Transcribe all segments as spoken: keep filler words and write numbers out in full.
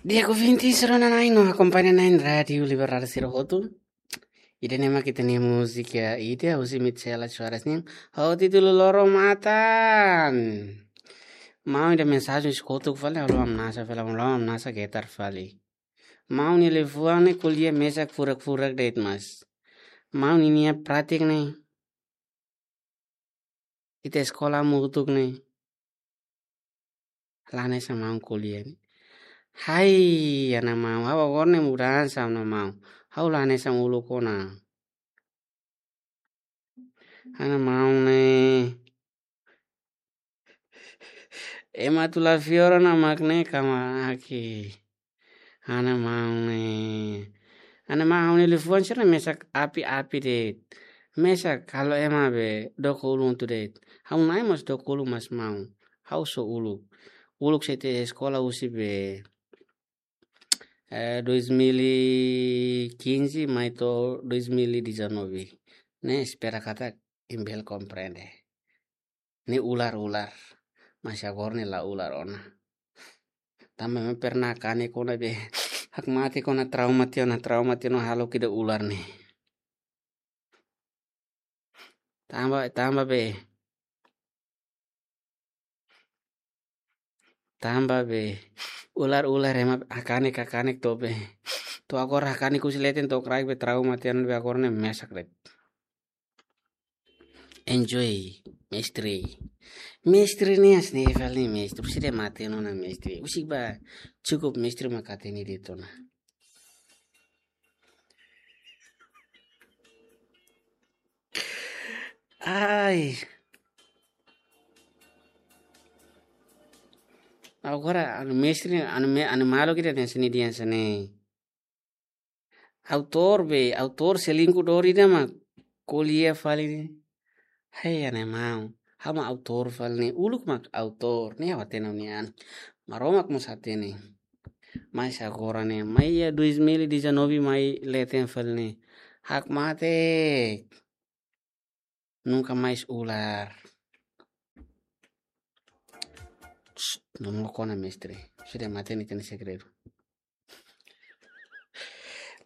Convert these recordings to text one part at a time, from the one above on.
Di'ak ouvinte sira-nia nain no akompaña nain Rádiu Liberdade sira hotu. Ida-ne'e mak ita-nia múzika ida husi Mitchell Soares nian ho títulu Loro Matan. Maun nia mensajen husi kotuk fali, ha'u la hamnasa fali, ha'u la hamnasa getar fali. Maun nia liafuan ne'e ko'alia mesak furak-furak de'it, mas maun ninia prátika ne'e, ita eskola hamutuk ne'e, la hanesan maun ko'alia ne'e. Hai, ha'u-nia maun, ha'u agora ne'e mudansa, ha'u-nia maun. Ha'u la hanesan uluk ona. Ha'u-nia maun ne'e, ema atu la fiar ona mak ne'e kama aki. Ha'u-nia maun ne'e, ha'u-nia maun ne'e liafuan sira mesak api-api de'it. Mesak halo ema be doko ulun tuir de'it. Ha'u-nia nain mós doko ulun, mas maun, ha'u só uluk. Uluk sei ita eskola husi be, eh, dois mil e quinze mai to'o dois mil e dezanove. Ne'e espera katak imi bele komprende. Ne'e ular-ular. Mas agora ne'e la ular ona. Tanba ema pernah kanek ona be, hakmatek ona, trauma tiha ona, trauma tiha ona, halo ida ular ne'e. Tanba, tanba be. Tanba be, ular-ular ema hakanek, hakanek to'o be. To'o agora hakanek husi leten to'o kraik be, trauma tiha ona be, agora ne'e mesak de'it. Enjoy, mestre. Mestre ne'e hanesan ne'e fali, mestre. Husi ida matenek ona, mestre. Husi ba, cukup mestre mak hatene de'it ona. Ai. Agora, ha'u-nia mestre, ha'u-nia me-, ha'u-nia maluk ida hanesan ne'e, dehan hanesan ne'e. Autór be, autór selingkuh dori ida mak ko'alia fali. Hei, ha'u-nia maun. Ha'u mak autór fali ne'e. Uluk mak autór. Ne'e ha'u hatene nian. Maromak mós hatene. Mas agora ne'e, mai iha dois mil e dezanove mai leten fali ne'e. Hakmatek. Nunca mais ular. Shh, no mokona, mestre. Husi ida matenek ita-nia segredu.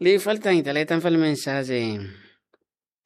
Liu fali tan, ita leten fali mensajen.